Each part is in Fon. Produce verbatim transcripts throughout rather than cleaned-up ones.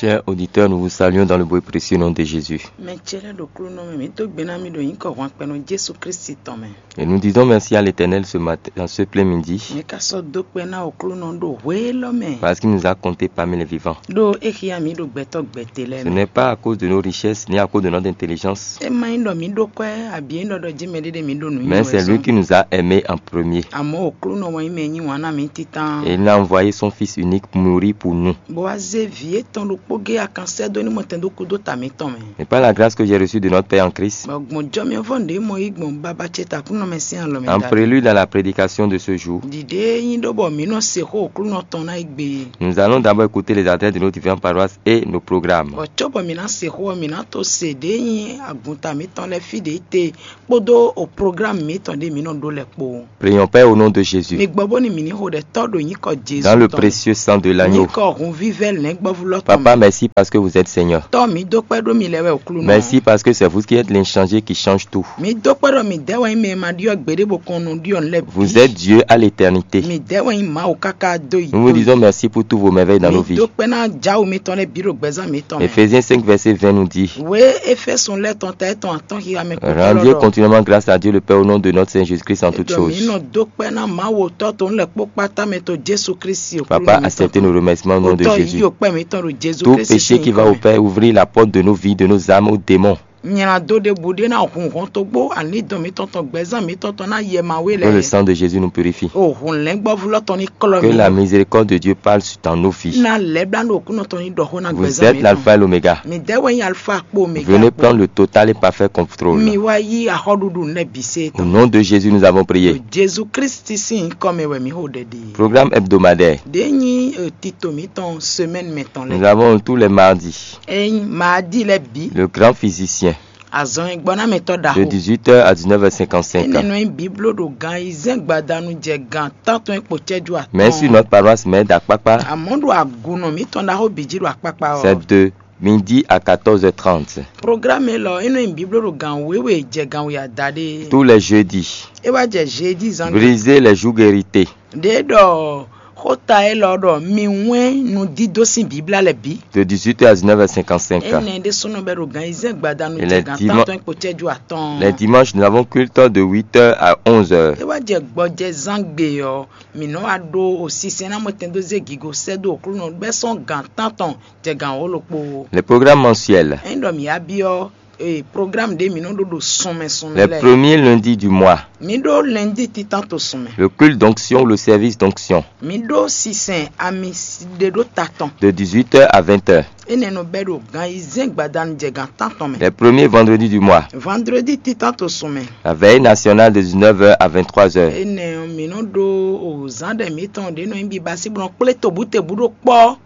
Chers auditeurs, nous vous saluons dans le beau et précieux nom de Jésus. Mɛ ce lɛ́ ɖo klúnɔ mɛ, mǐ dó gbe ná mì ɖo nyǐkɔ hwanpɛnɔ Jesu Kristi tɔn mɛ. Et nous disons merci à l'Éternel ce matin, en ce plein midi, Mǐ ka sɔ́ dó kpɛ́ ná o klúnɔ ɖo hwelɔ́ mɛ. Parce qu'il nous a comptés parmi les vivants. Ɖó é xyá mǐ ɖo gbɛtɔ́ gbɛtɛ́ lɛ́ɛ Ce mɛ. N'est pas à cause de nos richesses ni à cause de notre intelligence. É má nyí ɖɔ mǐ ɖó kwɛ́ abǐ é nyí ɖɔ ɖɔ jí mɛɖé ɖé mǐ ɖo nǔ Mais c'est lui qui nous a aimés en premier. Àmọ́ o klúnɔ wɛ nyí mɛ e yí wǎn ná mǐ títán. Et il a envoyé son Fils unique mourir pour nous. Bó wá zé vǐ étɔn ɖokpó gé akan sɛ́ dó ní mɔtɛn dó kú dó ta mǐtɔn mɛ. Et par la grâce que j'ai reçue de notre Père en Christ, Bɔ gbɔn jɔ mɛ vɔ́ ɖě mɔ yí gbɔn baba ce takúnɔ mɛ sín alɔ mɛ en ɖa. prélude à la prédication de ce jour, Ɖiɖe e nyí ɖó bɔ mǐ nɔ se xó o klúnɔ tɔn ná yi gbe. Nous allons d'abord écouter les adresses de nos différentes paroisses et nos programmes. Bɔ cóbɔ mǐ ná se xó ɔ́, mǐ ná to se ɖě nyí agunta mǐtɔn lɛ́ɛ fí ɖě te kpódó o programme mǐtɔn ɖě mǐ nɔ ɖó lɛ́ɛ kpó. Prions, Père, au nom de Jésus, Mi gbɔ bóni mǐ ní xo ɖɛ tɔ́ ɖo nyǐkɔ Jezu dans le tɔn mɛ. Précieux sang de l'agneau. Nyǐkɔ hunvívɛ́ lɛ̌ngbɔ́vú lɔ́ tɔn Papa, mɛ. Merci parce que vous êtes Seigneur. Tɔ́ mǐ dó kpɛ́ ɖó mi lɛ́ wɛ o klúnɔ. Merci parce que c'est vous qui êtes l'inchangé qui change tout. Mǐ dó kpɛ́ ɖɔ mǐ dɛ́ wɛ nyí mɛ e ma ɖyɔ́ gbeɖé bó kɔn nɔ ɖyɔ́ nǔ lɛ́ɛ bǐ. Vous êtes Dieu à l'éternité. Mǐ dɛ́ wɛ nyí Mawu káká dó yi. Nous vous disons merci pour tous vos merveilles dans nos Mǐ vies. Dó kpɛ́ ná Jǎwu mitɔn lɛ́ɛ bǐ ɖo gbɛzán mǐtɔn mɛ. Éphésiens cinq verset vingt nous dit, Wě Éfésɔn lɛ́ɛ tɔn ta étɔn atɔ́ xixa mɛ kpó rendiez continuellement grâce à Dieu le Père au nom de notre Seigneur Jésus-Christ en toutes Ɖɔ mǐ choses. Nɔ dó kpɛ́ ná Mawu Tɔ́ tɔn lɛ́ kpó kpátá mɛ to Jésù Kristi o. Papa, acceptez nos remerciements au nom de Tɔ́ Jésus. Yí o kpɛ́ mǐtɔn ɖo Jésù Tout Kristi péché qui va au Père, ouvrir la porte de nos vies, de nos âmes au démon. Nylá dó ɖěbǔ ɖé ná hun hɔn togbó alídɔn mítɔn tɔn gbɛzán mítɔn tɔn ná yɛ ma wé Que le lɛ. Sang de Jésus nous purifie. O hun lɛ́ngbɔ́vú lɔ tɔn ní klɔ Que mi. la miséricorde de Dieu parle dans nos vies. Ná lɛ́blá ɖo kúnɔ tɔn ní ɖɔ xó ná Vous gbɛzán êtes l'alpha et l'oméga. Mi dɛ́ wɛ nyí alfa kpó omega. Venez prendre le total et parfait contrôle. Mi wá yí axɔɖuɖu nɛ bǐ se Au nom de Jésus, nous avons prié. Jésù Kristi sín nyǐkɔ mɛ wɛ mǐ xo ɖɛɖi. Programme hebdomadaire. Ɖě nyí eh, tito mítɔn semaine mɛtɔn Nous lɛ. Avons tous les mardis Ényí maadi lɛ bǐ. Le grand physicien Azɔn e gbɔ ná mɛtɔ de ɖaxo. dix-huit heures à dix-neuf heures cinquante-cinq. Enɛ nɔ nyí bíbló ɖo gan ayizɛ́n gbadanu jɛ gan tántɔn e kpo cɛ́jú atɔn. Mais sur notre paroisse mère d'Akpakpa, Àmọ́ ɖo agunɔ mítɔn ɖaxó bǐ jí ɖo akpakpa ɔ́. c'est de midi à quatorze heures trente. Programme élɔ́ é nɔ nyí bíbló ɖo gan wěwe jɛ gan we adaɖé. Tous les jeudis, É wá jɛ jeudi zán. Brisez les joues guéritées. Ɖě ɖɔ xóta élɔ́ ɖɔ mi wɛ́n nudídó sín bíblá lɛ bǐ. De dix-huit heures à dix-neuf heures cinquante-cinq. Enɛ ɖésúnɔ bɛ ɖo gan ayizɛ́n gbadanu Et jɛ les gan dima- tántɔn e kpo cɛ́jú atɔn. Les dimanches, nous avons culte de huit heures à onze heures. É wá jɛ gbɔjɛzán gbe ɔ́, mǐ nɔ wá ɖó osisɛn ná mɔtɛn dó zé gigo sɛ́ dó Aklúnɔ bɛ́ sɔ́n gan tántɔn jɛ gan wǒ ɖokpó. Les programmes mensuels. Ényí ɖɔ mǐ wá byɔ́ ee programme ɖé mǐ nɔ ɖó ɖo sunmɛ sunmɛ Les lɛ́ɛ. Premiers lundis du mois. Mǐ ɖó lundi títán to sunmɛ. Le culte d'onction ou le service d'onction. Mǐ ɖó sisɛn ami ɖe ɖó ta tɔn. De dix-huit heures à vingt heures. Énɛ́ nɔ bɛ́ ɖo gan ayizɛ́n gbadanu jɛ gan tántɔn mɛ. Les premiers vendredis du mois. Vendredi títán to sunmɛ. La veillée nationale de dix-neuf heures à vingt-trois heures. Énɛ́ ɔ́, mǐ nɔ ɖó zǎn ɖɛ mǐtɔn ɖě nɔ nyí bibasí bó nɔ kplé tobútebú ɖó kpɔ́.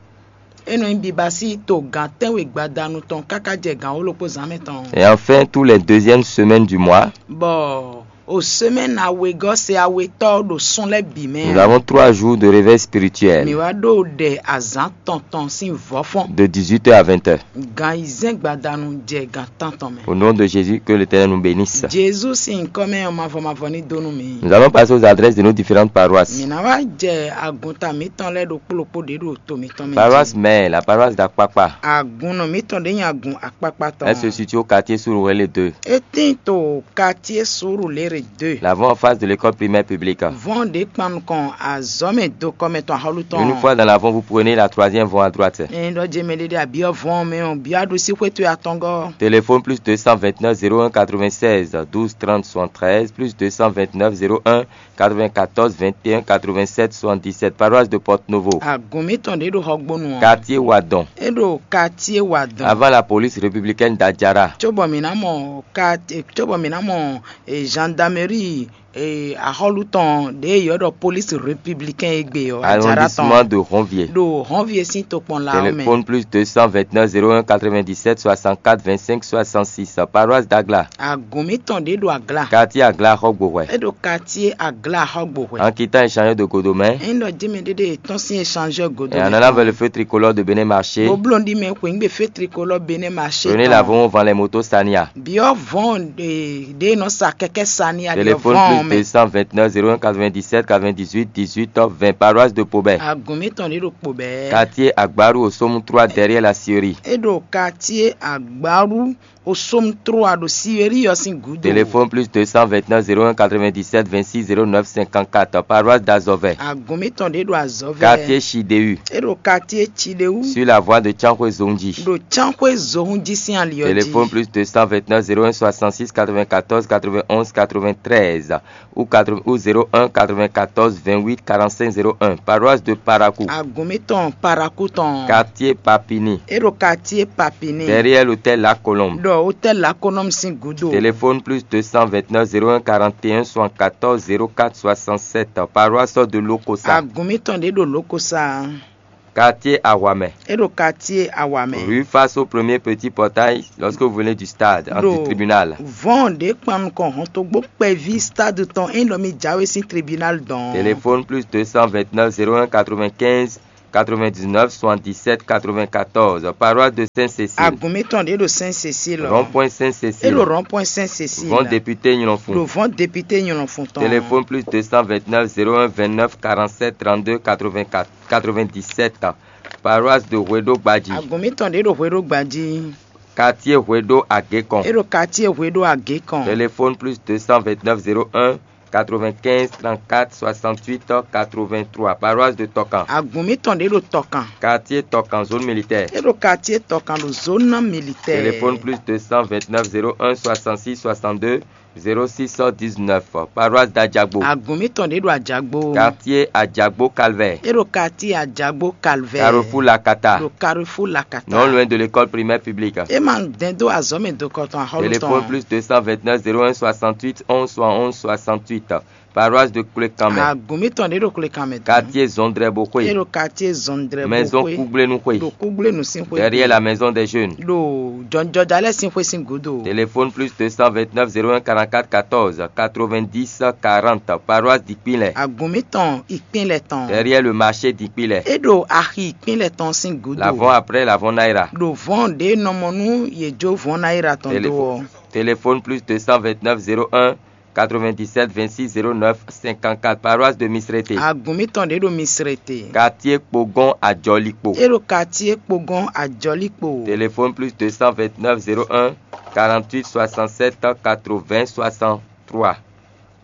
É nɔ nyí bibasí to gan tɛ́nwe gbadanu tɔn káká jɛ gan wǒ ɖokpó zǎn mɛ tɔn. Et enfin, tous les deuxièmes semaines du mois, Bɔ o semaine awegɔ́ se awetɔ́ ɖo sún lɛ́ bǐ mɛ. Nous avons trois jours de réveil spirituel. Mǐ wá ɖó ɖɛ azǎn tɔntɔn sín vɔ́fɔ́n. De dix-huit heures à vingt heures. Gan ayizɛ́n gbadanu jɛ gan tántɔn mɛ. Au nom de Jésus, que l'Éternel nous bénisse. Jezu sín nyǐkɔ mɛ ɔ́ mavɔ mavɔ ní dó nú mi. Nous allons passer aux adresses de nos différentes paroisses. Mǐ ná wá jɛ agunta mǐtɔn lɛ́ɛ ɖokpó ɖokpó ɖě ɖo to mǐtɔn mɛ. Paroisse mère, la paroisse d'Akpakpa. Agunnɔ mǐtɔn ɖě nyi agun akpakpa tɔn. Elle se situe au quartier Sourou-Lé deux. É tín to quartier Sourou-Lé deux. L'avant en face de l'école primaire publique. Vɔn ɖě kpan nukɔn azɔ̌ mɛ dokɔ mɛ tɔn axɔ́lú tɔn. Une fois dans l'avant, vous prenez la troisième voie à droite. Ɛn ɖɔ jɛ mɛ ɖé ɖe abiɔ vɔn mɛ ɔ́ bia ɖo sí xwétu atɔngɔ. Téléphone plus deux cent vingt-neuf zéro un quatre-vingt-seize douze trente soixante-treize, plus deux cent vingt-neuf zéro un quatre-vingt-quatorze vingt et un quatre-vingt-sept soixante-dix-sept, paroisse de Porto Novo. Agun mǐtɔn ɖě ɖo Xɔgbónu ɔ́. Quartier Wadon. É ɖo quartier Wadon. Avant la police républicaine d'Adjara. Cóbɔ mǐ ná mɔ quartier cóbɔ mǐ ná mɔ eh, gendarmerie eh, axɔ́lú tɔn ɖě yɔ ɖɔ police républicain e gbe ɔ́ Adjara tɔn. Arrondissement de Ronvier. Ɖo Ronvier sín tokpɔn la ɔ́ mɛ. Téléphone plus deux cent vingt-neuf zéro un quatre-vingt-dix-sept soixante-quatre vingt-cinq soixante-six, paroisse d'Agla. Agun mǐtɔn ɖě ɖo Agla. Quartier Agla Xɔgbohwɛ. É ɖo quartier Agla Xɔgbohwɛ. En quittant échangeur de Godomè. Ényí ɖɔ jɛmɛ ɖé ɖe tɔn sín échangeur Godomè. Et en allant vers le feu tricolore de Bénin Marché. Bó bló ɖi mɛ xweyígbe feu tricolore Bénin Marché. Prenez l'avant avant les motos Sania. Biɔ vɔn ɖe ɖe nɔ sa kɛkɛ Sania. Téléphone plus deux cent vingt-neuf zéro un quatre-vingt-dix-sept quatre-vingt-dix-huit dix-huit vingt, paroisse de Pobé. Agun mǐtɔn ɖé ɖo Pobé. Quartier Agbaru au Somme trois derrière la scierie. É ɖo quartier Agbaru au Somme trois ɖo scierie ɔ́ sín gǔdo. Téléphone plus deux cent vingt-neuf zéro un quatre-vingt-dix-sept vingt-six zéro neuf cinquante-quatre, paroisse d'Azovais. Agun mǐtɔn ɖé ɖo Azovais. Quartier Chidéu. É ɖo quartier Chidéu. Sur la voie de Tiankhoué Zongji. Ɖo Tiankhoué Zongji sín ali ɔ́ jí. Téléphone plus deux cent vingt-neuf zéro un soixante-six quatre-vingt-quatorze quatre-vingt-onze quatre-vingt-treize ou quatre ou zéro un quatre-vingt-quatorze vingt-huit quarante-cinq zéro un, paroisse de Parakou. Agun mǐtɔn Parakou tɔn. Quartier Papini. É ɖo quartier Papini. Derrière l'hôtel La Colombe. Ɖo hôtel La Colombe sín gúdo. Téléphone plus deux cent vingt-neuf zéro un quarante et un soixante-quatorze zéro quatre soixante-sept, paroisse de Lokosa. Agun mǐtɔn ɖé ɖo Lokosa. Quartier Awamɛ. É ɖo quartier Awamɛ. Rue face au premier petit portail lorsque vous venez du stade, anti-tribunal. Vɔn ɖě kpan nukɔn hɔntogbó kpɛví stade tɔn é nɔ mi jáwé sín tribunal dɔn. Téléphone plus deux cent vingt-neuf zéro un quatre-vingt-quinze quatre-vingt-dix-neuf soixante-dix-sept quatre-vingt-quatorze, paroisse de Sainte-Cécile. Agun mǐtɔn ɖě ɖo Sainte-Cécile. Rond-point Sainte-Cécile. É ɖo rond-point Sainte-Cécile. Vɔn député Nyɔnfun. Ɖo vɔn député Nyɔnfun tɔn. Téléphone plus deux cent vingt-neuf zéro un vingt-neuf quarante-sept trente-deux quatre-vingt-quatre quatre-vingt-dix-sept, paroisse de Hweɖo Gbadji. Agun mǐtɔn ɖě ɖo Hweɖo Gbadji. Quartier Hweɖo Agékɔn. É ɖo quartier Hweɖo Agékɔn. Téléphone plus deux cent vingt-neuf zéro un quatre-vingt-quinze trente-quatre soixante-huit quatre-vingt-trois, paroisse de Tɔkan. Agun mǐtɔn ɖě ɖo Tɔkan. Quartier Tɔkan, zone militaire. É ɖo quartier Tɔkan ɖo zone militaire. Téléphone plus deux cent vingt-neuf zéro un soixante-six soixante-deux zéro six dix-neuf, paroisse d'Adjagbo. Agun mǐtɔn ɖě ɖo Adjagbo. Quartier Adjagbo Calvaire. É ɖo quartier Adjagbo Calvaire. Carrefour Lakata. Ɖo carrefour Lakata. Non loin de l'école primaire publique. É ma dɛn dó azɔ̌ mɛ dokɔ tɔn axɔ́lú tɔn. Téléphone plus deux cent vingt-neuf zéro un soixante-huit onze soixante-onze soixante-huit, paroisse de Koulékanmɛ. Agun mǐtɔn ɖě ɖo Koulékanmɛ tɔn. Quartier Zɔndrɛboxwé. É ɖo quartier Zɔndrɛboxwé. Maison Kúgblénuxwé. Ɖo Kúgblénu sín xwé. Derrière la maison des jeunes. Ɖo jɔnjɔja lɛ́ɛ sín xwé sín gǔdo. Téléphone plus deux cent vingt-neuf zéro un quarante-quatre quatorze quatre-vingt-dix quarante, paroisse d'Ikpinlɛ. Agun mǐtɔn Ikpinlɛ tɔn. Derrière le marché d'Ikpinlɛ. É ɖo axi Ikpinlɛ tɔn sín gǔdo. L'avant après l'avant Naira. Ɖo vɔn ɖě nɔ mɔ nú yě jó vɔn Naira tɔn dó ɔ́. Téléphone plus deux cent vingt-neuf zéro un quatre-vingt-dix-sept vingt-six zéro neuf cinquante-quatre, paroisse de Misrété. Agun mǐtɔn ɖě ɖo Misrété. Quartier Kpogɔn Ajɔlikpo. É ɖo quartier Kpogɔn Ajɔlikpo. Téléphone plus deux cent vingt-neuf zéro un quarante-huit soixante-sept quatre-vingts soixante-trois,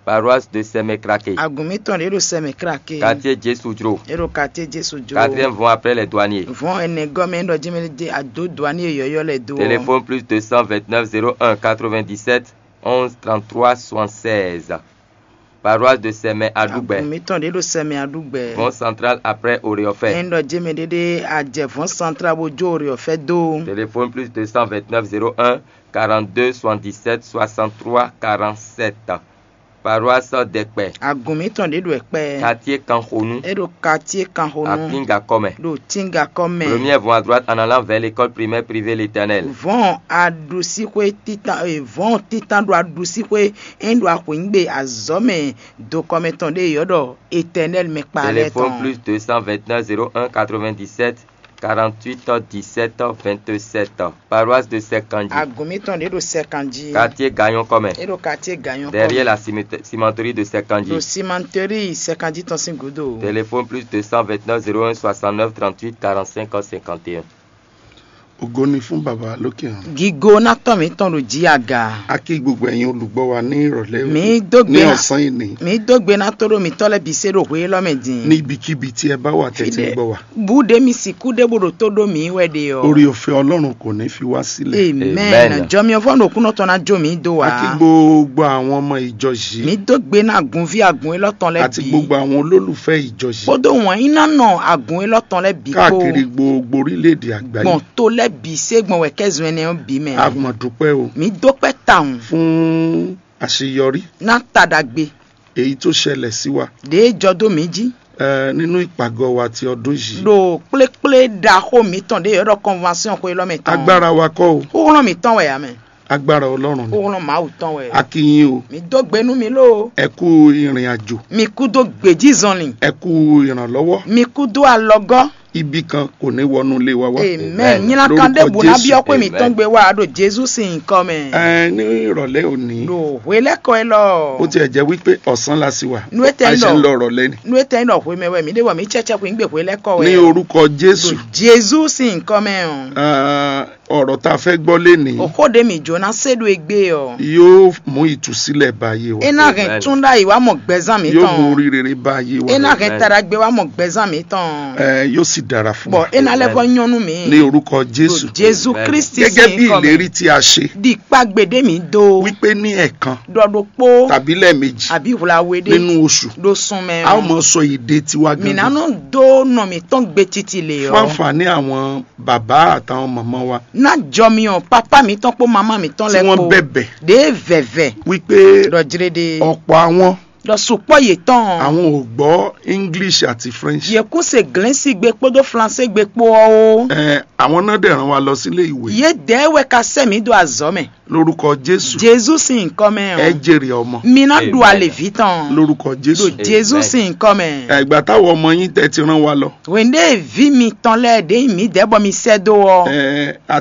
paroisse de Sɛmɛkrake. Agun mǐtɔn ɖě ɖo Sɛmɛkrake. Quartier Jésù Jro. É ɖo quartier Jésù Jro. Quatrième vɔn après les douaniers. Vɔn ɛnɛ gɔ́ mɛ é ɖɔ jɛ́n mɛ ɖé adó douanier yɔ̌yɔ́ lɛ́ɛ dó ɔ́. Téléphone plus deux cent vingt-neuf zéro un quatre-vingt-dix-sept onze trente-trois soixante-seize, paroisse de Sɛmɛ Aɖugbɛ. Agun mǐtɔn ɖě ɖo Sɛmɛ Aɖugbɛ. Vɔn central après Oreɔfɛ. Ɛ ɖɔ jɛ́n mɛ ɖé ɖé a jɛ vɔn central bó jó Oreɔfɛ dó. Téléphone plus deux cent vingt-neuf zéro un quarante-deux soixante-dix-sept soixante-trois quarante-sept, paroisse Dɛkpɛ. Agun mǐtɔn ɖě ɖo Ɛkpɛ. Quartier Kanxonu. É ɖo quartier Kanxonu. Aklíngakɔ mɛ. Ɖo Tíngakɔ mɛ. Première vont à droite en allant vers l'école primaire privée L'Éternel. Vɔn aɖusíxwé títan e vɔn títan ɖo aɖusíxwé é ɖo axwǐngbe azɔ̌ mɛ dokɔmɛ tɔn ɖé yɔ́ ɖɔ Éternel mɛ kpa lɛ́ɛ Téléphone tɔn. Plus deux cent vingt-neuf zéro un quatre-vingt-dix-sept quarante-huit dix-sept vingt-sept, paroisse de Sɛkanji. Agun mǐtɔn ɖě ɖo Sɛkanji. Quartier Gagnon kɔmɛ. É ɖo quartier Gagnon kɔmɛ. Derrière la cimete- cimenterie de Sɛkanji. Ɖo cimenterie Sɛkanji tɔn sín gúdo. Téléphone plus deux cent vingt-neuf zéro un soixante-neuf trente-huit quarante-cinq cinquante et un. Ògo ni fún baba lókè hàn. Gigo ná tɔn mǐtɔn ɖo jí aga. A kí gbogbo ẹ̀yin olùgbọ́ wa ní ìrọ̀lẹ́ òní. Mǐ dó gbe Ní ná ọ̀sán ìní. Mǐ dó gbe ná tó ɖó mǐtɔn lɛ́ɛ bǐ se ɖo hwe élɔ́ mɛ din. Ní ibikíbi tí ẹ bá wà tẹ́tí ń gbọ́ wa. Bú ɖé mi sìkú ɖé bó ɖo tó ɖó mǐ wɛ ɖe ɔ́. Orí ọ̀fẹ́ Ọlọ́run kò ní fi wá sílẹ̀. Amen. Amen. Jɔmyɔvɔ ɖo kúnɔ tɔn ná jó mǐ dó wa. A kí gbogbo àwọn ọmọ ìjọ yìí. Mǐ dó gbe ná agunví agun élɔ́ tɔn lɛ́ɛ Àti bǐ. Gbogbo àwọn olólùfẹ́ ìjọ yìí. Kpódó wǎn yí ná nɔ agun élɔ́ tɔn lɛ́ɛ bǐ kpó. Káàkiri gbogbo orílẹ̀-èdè àgbáyé. Gbɔn to lɛ́ɛ bǐ se gbɔn wɛ kɛ́ zɔn ɛnɛ ɔ́ bǐ mɛ. A mọ̀ dúpẹ́ o. Mǐ dó kpɛ́ tawun. Fún àṣeyọrí. Ná ta ɖagbe. Èyí tó ṣẹlẹ̀ sí wa. Ɖě jɔ dó mǐ jí. Ɛ, nínú ìpàgọ́ wa ti ọdún yìí. Ɖo kplékplé ɖaxó mǐtɔn ɖě yɔ́ ɖɔ convention xwe élɔ́ mɛ tɔn. Agbára wa kọ́ o. Xúxlɔ́n mǐtɔn wɛ ǎ mɛ. Agbára Ọlọ́run ni. Xúxlɔ́n Mawu tɔn wɛ. A kí yín o. Mǐ dó gbe nú mi lóo. Ẹ kú ìrìn àjò. Mi kú dó gbějízɔnlin. Ẹ kú ìrànlọ́wọ́. Mi kú dó alɔgɔ́. ibi kan kò ní wọnú ilé wa wá. Amen. Nyina kan ɖe bu na biɔ xwe mi tɔn gbe wa ɖo Jesu sin nyikɔ mɛ. Ẹ ní ìrọ̀lẹ́ òní. Ɖo hwe lɛ kɔ elɔ. Ó tiẹ̀ jẹ́ wípé ọ̀sán la sì wà. Nu etɛ A yi ṣe ń lọ lɔ. ìrọ̀lẹ́ ni. Nu etɛ yi lɔ hwe mɛ wɛ mi ɖe wɔ mi tsɛtsɛ xwe ŋgbe hwe lɛ kɔ wɛ. Ní orúkọ Jésù. Jesu sin nyikɔ mɛ o. Ah, ọ̀rọ̀ tá a fẹ́ gbọ́ lénìí Oxo ɖe mi jo na se ɖo egbe ɔ. Yóò mú ìtúsílẹ̀ bá ayé wa. E na hɛn tún ɖa yi wa mɔ gbɛzan mi Yóò mú tɔn. oríire bá ayé wa. E na hɛn taɖagbe wa mɔ gbɛzan mi tɔn. Ẹ yóò sì dára fún Bɔn wa. E na lɛ vɔ nyɔnu mi. Ní orúkọ Jésù. Jesu Kristi Gẹ́gẹ́ sin bí nyikɔ ìlérí mɛ. Tí a ṣe. Di kpa gbe ɖe mi do. Wípé ní ẹ̀ẹ̀kan Ɖɔ ɖokpo. Tàbí lẹ́ẹ̀mejì. Àbí hwla we ɖe. Nínú oṣù. Ɖo sun mɛ A ó o. mọ sọ èdè tiwa Mi na gangan. Nɔ do nɔ mi tɔn gbe titi le Fún ɔ. Àǹfààní àwọn bàbá àtàwọn màmá wa. Na jɔ mi ɔ papa mi tɔn kpo mama mi tɔn Tí lɛ wọ́n kpo. Bẹ̀bẹ̀. Ɖe vɛvɛ. Wípé Ɖɔ jre ɖe. Ọ̀pọ̀ àwọn. Ɖɔ sukpɔ yetɔn. Àwọn ò gbọ́ English àti French. Ye kún se glɛnsi gbe kpódó flansé gbe kpó ɔ o. Ẹ, àwọn náà dẹ̀ rán wa lọ sílé ìwé. Ye dɛ wɛ ka sɛ mi do azɔ mɛ. Lórúkọ Jésù. Jesu sin nyikɔ mɛ Ẹ ɔ. Jèrè ọmọ. Mi na ɖu alevi tɔn. Lórúkọ Jésù. Ɖo Jesu sin nyikɔ mɛ. Ẹ, ìgbà táwọn ọmọ yín tẹ́ ti rán wa lọ. Wende vi mi tɔn lɛ ɖe mi dɛ bɔ mi sɛ do ɔ. Ẹ, a